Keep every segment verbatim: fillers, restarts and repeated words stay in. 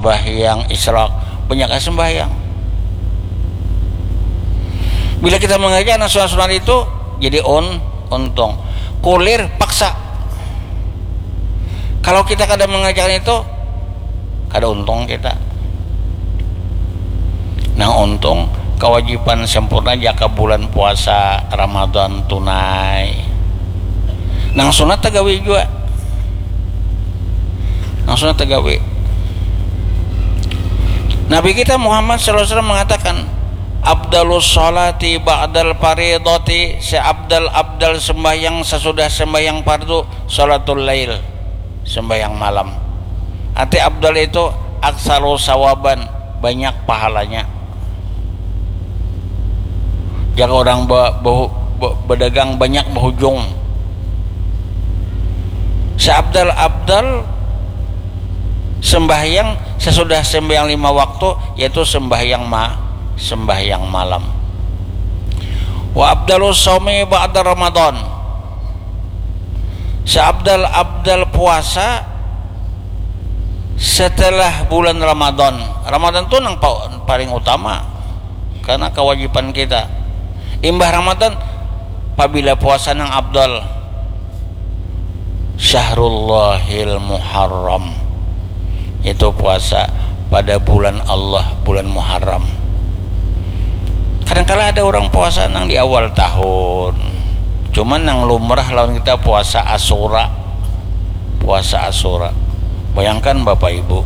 Sembahyang isyraq, banyak sembahyang. Bila kita mengerjakan sunat-sunat itu, jadi un untung. Kulir paksa. Kalau kita kada mengerjakan itu, kada untung kita. Nah, untung kewajiban sempurna jaka bulan puasa Ramadan tunai. Nang sunat tagawi jua. Nang sunat tagawi. Nabi kita Muhammad sallallahu alaihi wasallam mengatakan, "Abdalus salati ba'dal faridati," seabdal-abdal sembahyang sesudah sembahyang fardu, salatul lail, sembahyang malam. Arti abdal itu aksaru sawaban, banyak pahalanya. Jaka orang ba, ba, ba, badagang banyak bahujung. Seabdal-abdal sembahyang sesudah sembahyang lima waktu, yaitu sembahyang ma, sembahyang malam. Wa abdalus saumi ba'da Ramadan. Seabdal-abdal puasa setelah bulan Ramadan. Ramadan tu nang pa, paling utama karena kewajiban kita. Imbah Ramadan, pabila puasa nang abdal, Syahrullahil Muharram, itu puasa pada bulan Allah, bulan Muharram. Kadangkala ada orang puasa nang di awal tahun, cuman nang lumrah lawan kita puasa Asura. Puasa Asura. Bayangkan Bapak Ibu,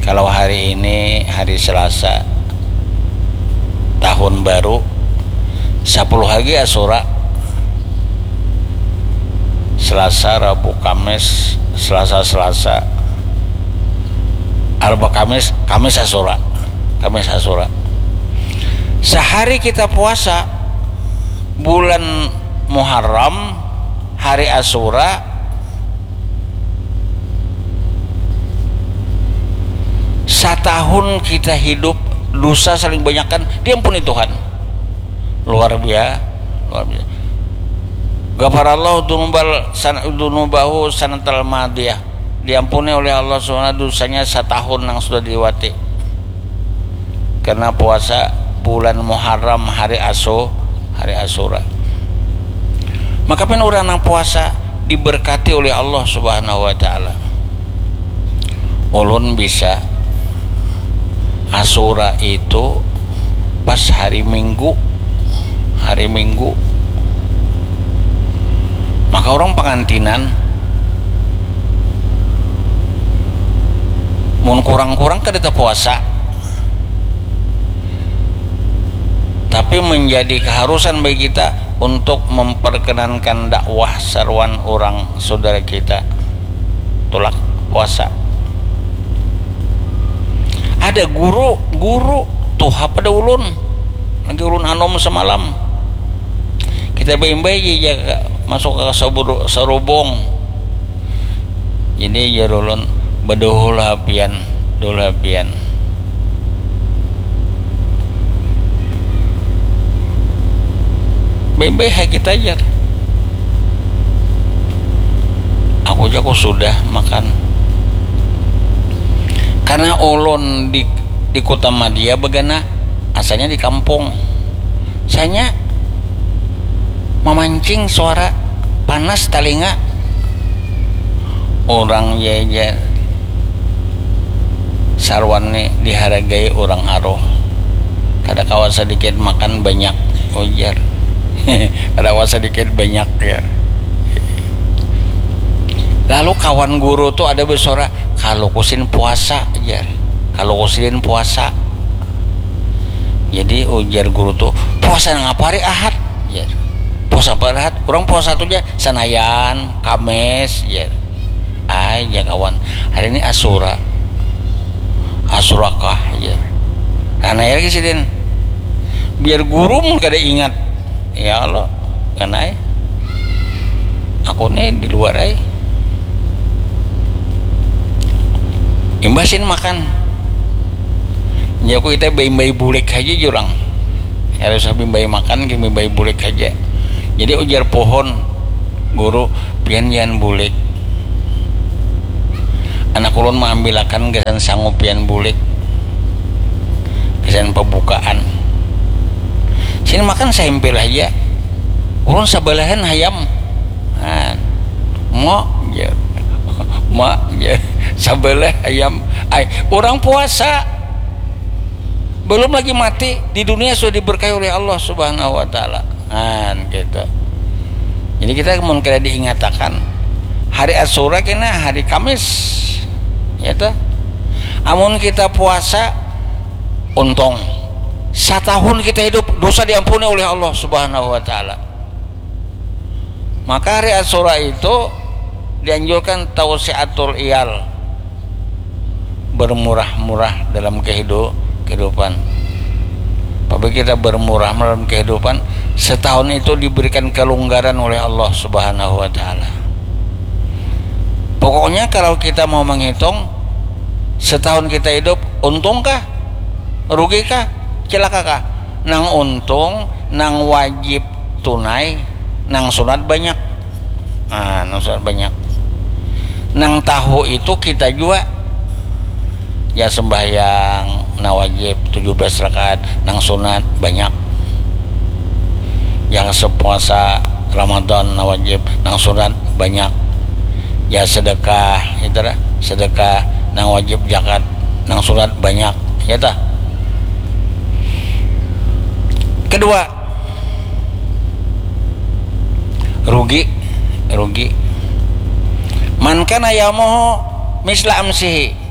kalau hari ini hari Selasa, tahun baru, sapuluh lagi Asura, Selasa, Rabu, Kamis, Selasa, Selasa, Arba, Kamis, Kamis Asura, Kamis Asura. Sehari kita puasa, bulan Muharram, hari Asura, satahun kita hidup, dosa saling banyakkan, diampuni Tuhan. Luar biasa, luar biasa. Ghafarallahu dzunubal san-, dzunubahu sanatal madiyah. Diampuni oleh Allah Subhanahu wa taala dosanya satahun yang sudah diliwati. Karena puasa bulan Muharram, hari Asu, hari Asura. Maka pen orang nang puasa diberkati oleh Allah Subhanahu wa taala. Ulun bisa Asura itu pas hari Minggu, hari Minggu. Maka orang pangantinan mun kurang-kurang kada tapuasa, tapi menjadi keharusan bagi kita untuk memperkenankan dakwah saruan orang saudara kita tulak puasa. Ada guru, guru tuha pada ulun, lagi ulun anom semalam. Kita baimbai ja masuk ke saburu-, sarubung. Jadi jar ulun, "Baduhul ha pian, duhul ha pian." Baimbai ha kita jar. Aku ja ku sudah makan. Karena ulun di, di Kota Madya bagana, asalnya di kampung. Sanya mamancing suara panas talinga. Orang ja, jar, saruan ni dihargai orang aruh. Kada kawa sadikit makan banyak, ujar. Kada kawa sadikit banyak, ya. Lalu kawan guru tu ada bersuara, "Kaluku sidin puasa," jar. "Kaluku sidin puasa." Jadi ujar guru tu, "Puasa nang apa hari Ahad?" jar. "Puasa apa hari Ahad? Orang puasa tu ja Sanayan, Kamis," jar. "Ai," jar kawan, "hari ini Asura." "Asura kah?" jar. Nah, nanya lagi sidin. Biar guru mun kada ingat. Ya Allah, kanai. Aku ni di luar ai. Imbah sidin makan. Ya, aku kita baimbai bulik haja jurang. Kada usah baimbai makan, baimbai bulik haja. Jadi ujar pohon, "Guru, pian jangan bulik. Anak ulun maambilakan gasan sangu pian bulik, gasan pabukaan. Sini makan sahimpil haja. Ulun sabalahan hayam. Nah, ma ja. Ma ja. Sabalah hayam. Ai, urang puasa. Belum lagi mati, di dunia sudah diberkahi oleh Allah Subhanahu wa Ta'ala. Nah, gitu. Jadi kita mun kada diingatakan, hari Asyura kena hari Kamis, ya toh. Amun kita puasa, untung. Satahun kita hidup, dosa diampuni oleh Allah Subhanahu wa Ta'ala. Maka hari Asyura itu dianjurkan tausiatul iyal, bermurah-murah dalam kehidu-, kehidupan. Apabila kita bermurah dalam kehidupan, setahun itu diberikan kelonggaran oleh Allah Subhanahu wa Ta'ala. Pokoknya, kalau kita mau menghitung, setahun kita hidup, untungkah? Rugikah? Celakakah? Nang untung, nang wajib tunai, nang sunat banyak. Nah, nang sunat banyak. Nang tahu itu kita jua. Ya, sembahyang nang wajib tujuh belas rakaat, nang sunat banyak. Yang sepuasa Ramadan nang wajib, nang sunat banyak. Ya, sedekah, itu lah, sedekah nang wajib, zakat nang sunat banyak, ya toh. Kedua, rugi, rugi. Man kana yaumuhu misla amsihi.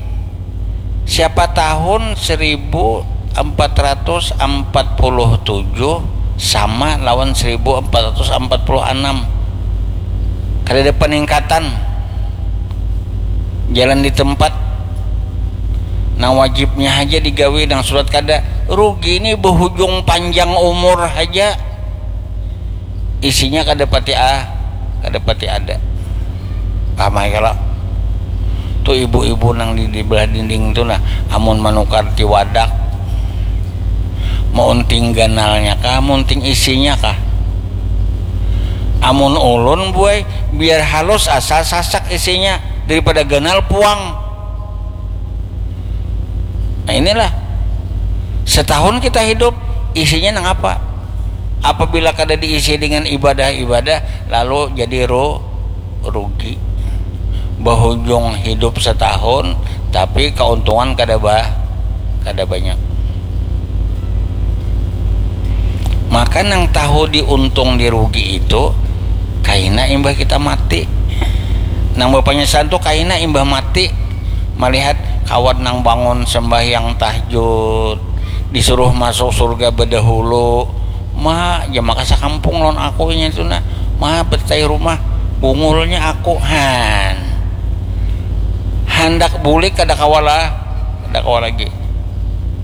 Siapa tahun seribu empat ratus empat puluh tujuh sama lawan seribu empat ratus empat puluh enam. Kada ada peningkatan. Jalan di tempat. Nang wajibnya haja digawi, nang sunat kada. Rugi ni, berhujung panjang umur haja. Isinya kada pati, ah, kada pati ada. Paham ai kalo? Tu ibu-ibu nang di, di belah dinding tu nah, amun manukar tiwadak, maunting ganalnya kah, maunting isinya kah? Amun ulun, buai, biar halus asal sasak isinya daripada ganal puang. Nah, inilah, setahun kita hidup, isinya nang apa? Apabila kada diisi dengan ibadah-ibadah, lalu jadi ru-, rugi. Bahujung hidup setahun, tapi keuntungan kada ba-, kada banyak. Maka nang tahu diuntung dirugi itu kaina imbah kita mati. Nang bapanyasalan tu kaina imbah mati. Malihat kawan nang bangun sembahyang tahajud, disuruh masuk surga bedahulu. Ma, ja maka sakampung lawan aku inya tu nah. Ma, betai rumah, bungulnya aku. Han. Handak bulik kada kawa lah, kada kawa lagi.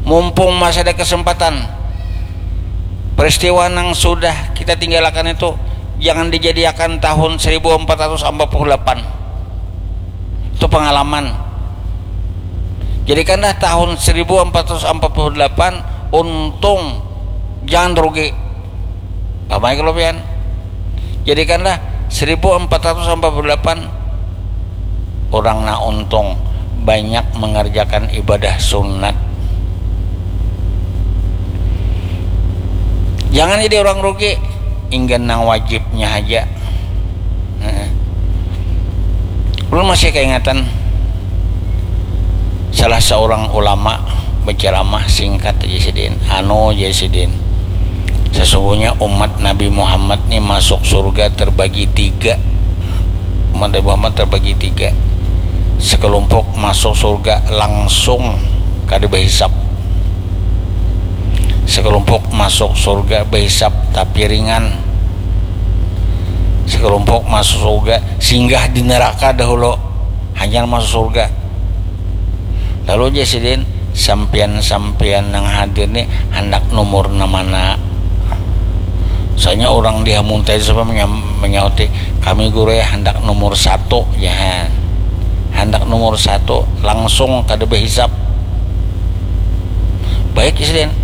Mumpung masih ada kesempatan, peristiwa nang sudah kita tinggalakan itu jangan dijadiakan tahun seribu empat ratus empat puluh delapan. Itu pengalaman. Jadikanlah tahun seribu empat ratus empat puluh delapan untung, jangan rugi. Paham ai kalo pian? Jadikanlah seribu empat ratus empat puluh delapan orang nang untung, banyak mengerjakan ibadah sunat. Jangan jadi orang rugi, inggan nang wajibnya haja. Heeh. Ulun masih kaingatan salah seorang ulama berceramah singkat aja sidin. Anu aja sidin. Sesungguhnya umat Nabi Muhammad ni masuk surga terbagi tiga. Umat Nabi Muhammad terbagi tiga. Sekelompok masuk surga langsung kada berhisap. Sekelompok masuk surga berhisap tapi ringan. Sekelompok masuk surga singgah di neraka dahulu, hanyar masuk surga. Lalu aja sidin, sampian-sampian nang hadir ni handak nomor nang mana? Soalnya orang di Hamuntai sampai menyam-, menyauti, kami guru ya handak nomor satu, ya. Handak nomor satu, langsung kada berhisap. Baik, Isden.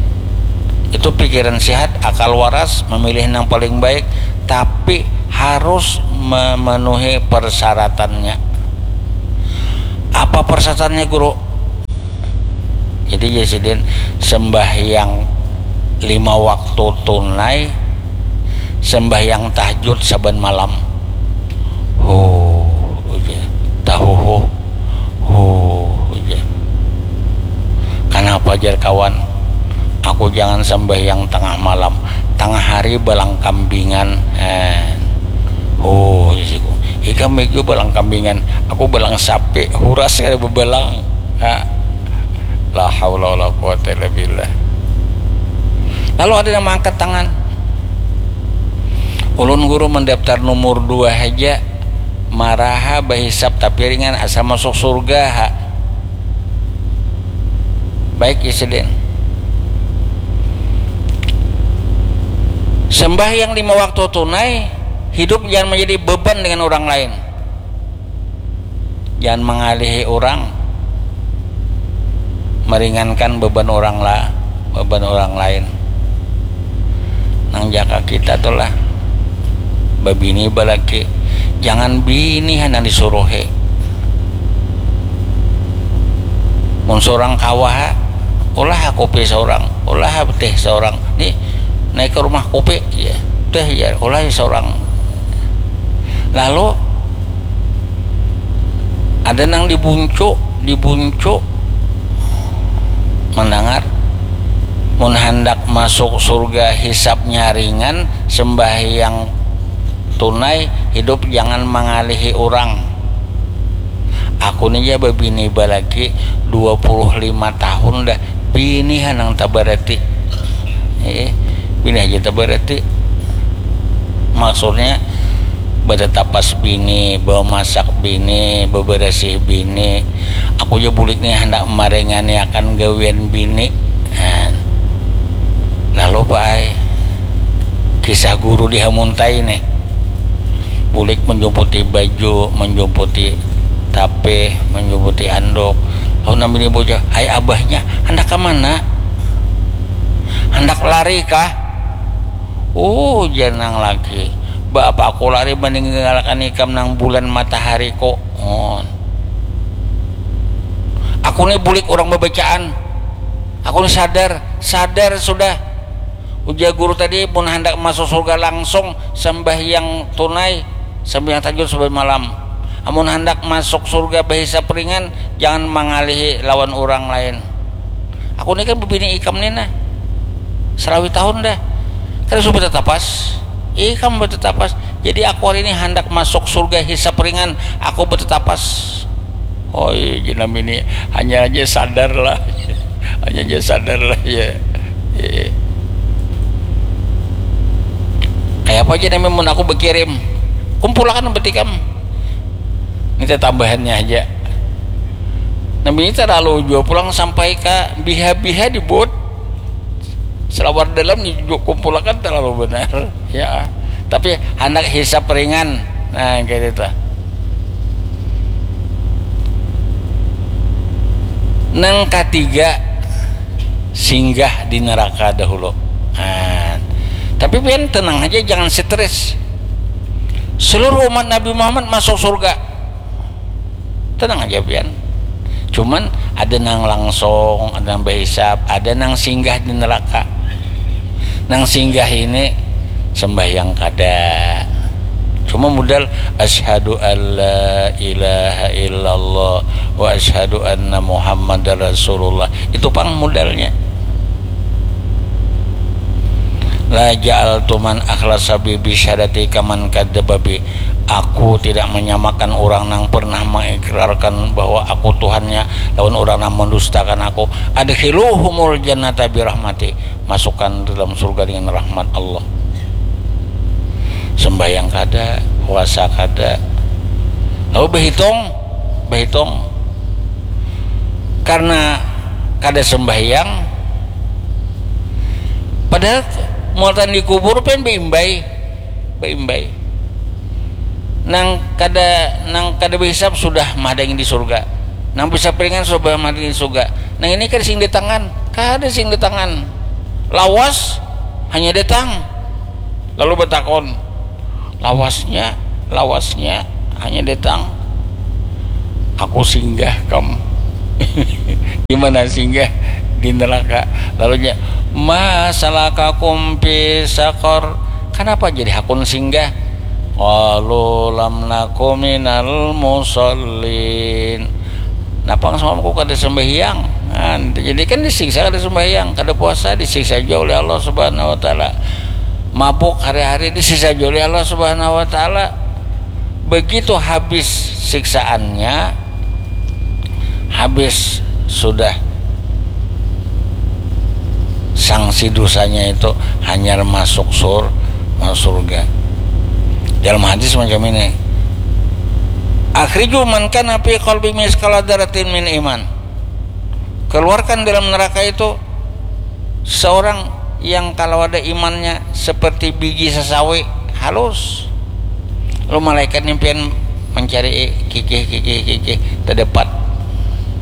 Itu pikiran sehat, akal waras, memilih yang paling baik, tapi harus memenuhi persyaratannya. Apa persyaratannya, Guru? Jadi, jar sidin, sembahyang lima waktu tunai, sembahyang tahajud saban malam. Huh, ujar. Tahuhuh. Huh, ujar. Kanapa, jar kawan? Aku jangan sembahyang tengah malam, tengah hari balang kambingan. Eh. Oh, isiku. Ikam itu balang kambingan, aku balang sapi, huras kada bebalang. Ha. La haula wala quwata illa billah. Lalu ada yang mengangkat tangan. Ulun, Guru, mendaftar nomor dua haja. Maraha bahisap tapi ringan, asa masuk surga ha. Baik, ya, sidin. Sembahyang lima waktu tunai, hidup jangan menjadi beban dengan orang lain. Jangan mengalihi orang, meringankan beban orang la, beban orang lain. Nang jaka kita tu lah, babini balaki, jangan bini hanang disuruhi. Mun seorang kawa ha, ulah ha kopi seorang, ulah ha teh seorang. Ni, naik ke rumah kopi, ya, teh, ya, ulah seorang. Lalu ada nang dibuncu, dibuncu mendengar, mun handak masuk surga hisapnya ringan, sembahyang tunai, hidup jangan mengalihi orang. Aku ni ja babini balaki dua puluh lima tahun dah, bini hanang tabarati. Eh, bini aja tabarati. Maksudnya, bertetapas bini, bawa masak bini, beberesih bini. Aku ja bulik nih hendak merengani akan gawian bini. Nah, lalu, Pak ai, kisah guru di Hamuntai nih. Bulik menjumputi baju, menjumputi tapih, menjumputi anduk. Lalu nambini bocah, "Hai abahnya, hendak ke mana? Hendak lari kah?" "Oh," janang lagi, "ba apa aku lari meninggalkan ikam nang bulan matahari ko?" Oh. "Aku ni bulik orang babacaan. Aku ni sadar, sadar sudah." Ujar guru tadi, mun handak masuk surga langsung sembahyang tunai, sembahyang tahajud saban malam. Amun handak masuk surga bahisap ringan, jangan mangalihi lawan urang lain. Aku ni kan bebini ikam ni nah, salawi tahun dah. Kada suah betetapas. Ikam betetapas. Jadi aku hari ini handak masuk surga hisap ringan, aku betetapas. Oh iya, jenam ini hanya aja sadar lah. Hanya aja sadar lah ya. Iya. Kayak apa aja namanya mun aku berkirim? Kumpulakan berarti kam. Minta tambahannya aja. Nah, ini terlalu jua pulang sampai ke biha-biha di bot. Selawar dalam ni juga kumpulakan terlalu benar. Ya. Tapi handak hisap ringan. Nah, kayak itu. Nang ketiga, singgah di neraka dahulu. Nah, tapi pian tenang aja, jangan stres. Seluruh umat Nabi Muhammad masuk surga. Tenang aja pian. Cuman ada nang langsung, ada nang bahisap, ada nang singgah di neraka. Nang singgah ini sembahyang kada. Cuma modal asyhadu alla ilaha illallah wa asyhadu anna Muhammadar Rasulullah. Itu pang modalnya. La ja'altu man akhlasa bi bisyadati kaman kadzdzaba bi. Aku tidak menyamakan orang nang pernah mengikrarkan bahwa aku Tuhannya lawan orang nang mendustakan aku. Adkhiluhumul jannata birahmati. Masukkan dalam surga dengan rahmat Allah. Sembahyang kada, puasa kada. Lalu berhitung, berhitung. Karena kada sembahyang, padahal muatan di kubur pen beimbai, beimbai. Nang kada, nang kada behisap sudah mahadangi di surga. Nang bisa piringan sudah mahadangi di surga. Nang ini kada sing di tangan, kada sing di tangan. Lawas hanya datang. Lalu bertakon, lawasnya, lawasnya hanya datang. Aku singgah kam. Di mana singgah? Di neraka. Lalunya, "Ma salakakum fi saqar?" Kenapa jadi hakun singgah? "Qalu lam naku minal musallin." Napang semalam aku kada sembahyang. Nah, jadi kan disiksa kada sembahyang, kada puasa disiksa juga oleh Allah Subhanahu wa taala. Mabuk hari-hari disiksa juga oleh Allah Subhanahu wa taala. Begitu habis siksaannya, habis sudah sanksi dosanya itu, hanyar masuk sur, masuk surga. Dalam hadis macam ini, "Akhriju man kana fi qalbi misqala dzarratin min iman." Keluarkan dalam neraka itu seorang yang kalau ada imannya seperti biji sesawi halus. Lalu malaikat ni pian mencari, eh, kikih, kikih, kikih, terdapat,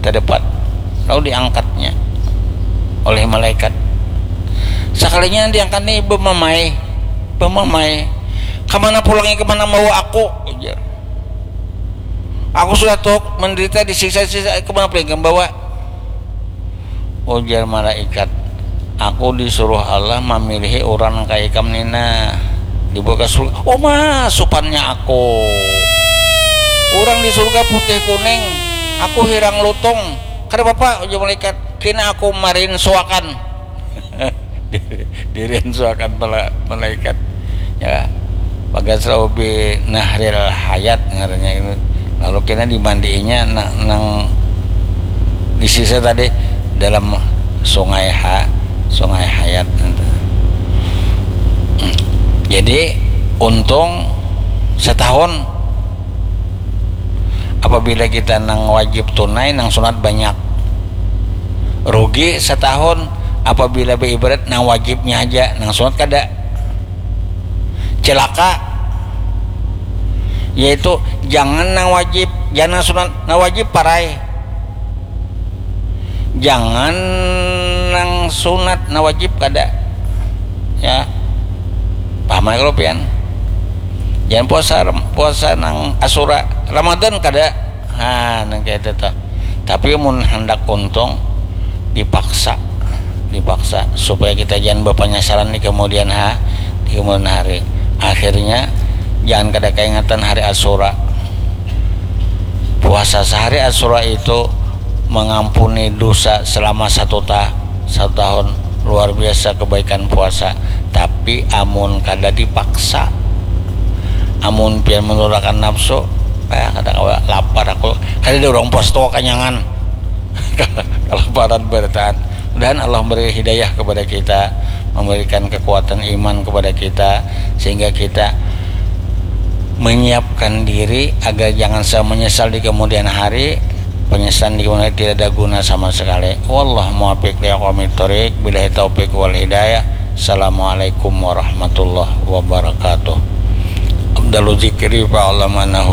terdapat. Lalu diangkatnya oleh malaikat. Sekalinya diangkat ni bemamai, bemamai. "Kemana pulangnya, kemana bawa aku?" Ujar. "Aku sudah tuh menderita, disiksa-siksa, kemana pulangnya bawa?" Ujar malaikat, "Aku disuruh Allah mamilihi orang kaya ikam nina, dibawa ke surga." "Oh, ma, supannya aku. Orang di surga putih kuning, aku hirang lutung." "Kada apa-apa," ujar malaikat, "kena aku marinsuakan." Dirinsuakan malaikat. Ya, bagas raubi nahril hayat ngarannya itu. Lalu kena dimandiinya nang, nang disisa tadi dalam sungai ha, sungai hayat. Jadi untung setahun apabila kita nang wajib tunai, nang sunat banyak. Rugi setahun apabila beribadat nang wajibnya aja, nang sunat kada. Celaka. Yaitu jangan nang wajib, jangan nang sunat, nang wajib parai. Jangan nang sunat, nang wajib kada. Ya. Paham ya kalau pian? Jangan puasa, puasa nang asura, Ramadan kada. Ha, nang kayak itu tuh. Tapi mun hendak untung, dipaksa, dipaksa supaya kita jangan berpenyesalan di kemudian ha, di kemudian hari. Akhirnya jangan kada keingatan hari Asura. Puasa sehari Asura itu mengampuni dosa selama satu ta, satu tahun. Luar biasa kebaikan puasa. Tapi amun kada dipaksa, amun pian menurunkan nafsu, eh, kada kawa, lapar aku, kada ada orang puasa tuh kanyangan. Kelaparan bertahan. Mudahan Allah memberi hidayah kepada kita, memberikan kekuatan iman kepada kita, sehingga kita menyiapkan diri agar jangan sampai menyesal di kemudian hari. Penyesalan di kemudian hari tidak ada guna sama sekali. Wallah muwaffiq li aqwamit thoriq. Billahi taufiq wal hidayah. Assalamualaikum warahmatullahi wabarakatuh. Afdalu dzikri fa'lam annahu